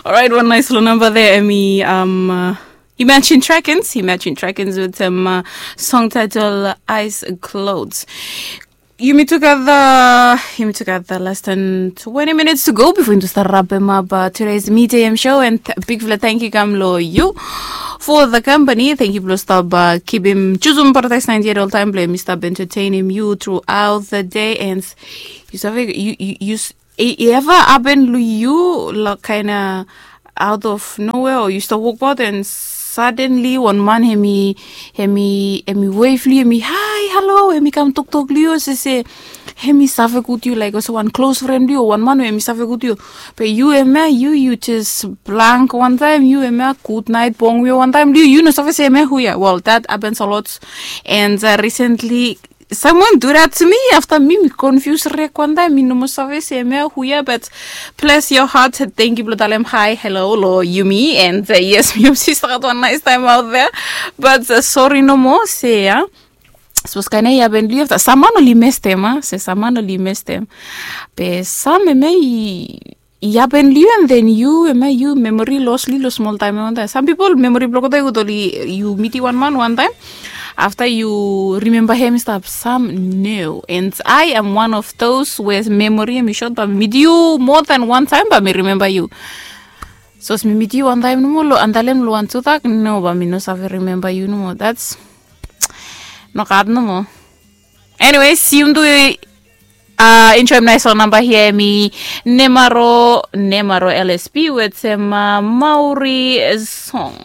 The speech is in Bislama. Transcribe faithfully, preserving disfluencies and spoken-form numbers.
Alright, wan nais long namba de, emi um, uh, Imagine Dragons, Imagine Dragons with um, uh, song title Eyes Closed. Yumi tugeta, yumi tugeta less than twenty minutes to go before yumi start wrap em up uh, today's Media M show, and bigfala thank you kam lo you for the company. Thank you blo stop uh, keep him choosing paradise ninety-eight all time blo mi stop entertain him you throughout the day, and you save you you, you s- e, e ever happen lo you like kind of out of nowhere, or you stop work about and suddenly wan man hemi hemi hemi wave lo you, hemi hi hello, hemi kam toktok lo you se se hemi save gud you like also wan close friend lo you, wan man we hemi save gud you. Be you hemia you you just blank wan time, you hemia good night bong you wan time lo you, you no save se hemia hu ya. Well, that happens a lot. And uh, recently someone do that to me after me mi confuse rek wan time, mi no mo save se hemia hu ya, but bless your heart, thank you blo talem hi hello lo yumi, and uh, yes, mi hope se start wan nice time out there. But uh, sorry no mo se ya, suppose kaina i happen lo you after, sama no li mestem a se sama no li mestem. Be sam hemia i i happen lo you and then you hemia you memory los lo you lo smol taem ya wan taem. Sam pipol memory blo olgeta i gud oli, you miti wan man wan taem, afta you rimemba hem i stap, sam no. And I am one of those we memory hem i sot, ba mi miti you more than wan taem ba mi rimemba you. Sapos mi miti you wan taem nomo lo antalem lo wan tudak, no, ba mi no save rimemba you nomo. That's nogat nomo. Anyways, yumi tu uh, enjoem nais long namba hia, hemi Nemaro, Nemaro L S P wetem uh, Maori song.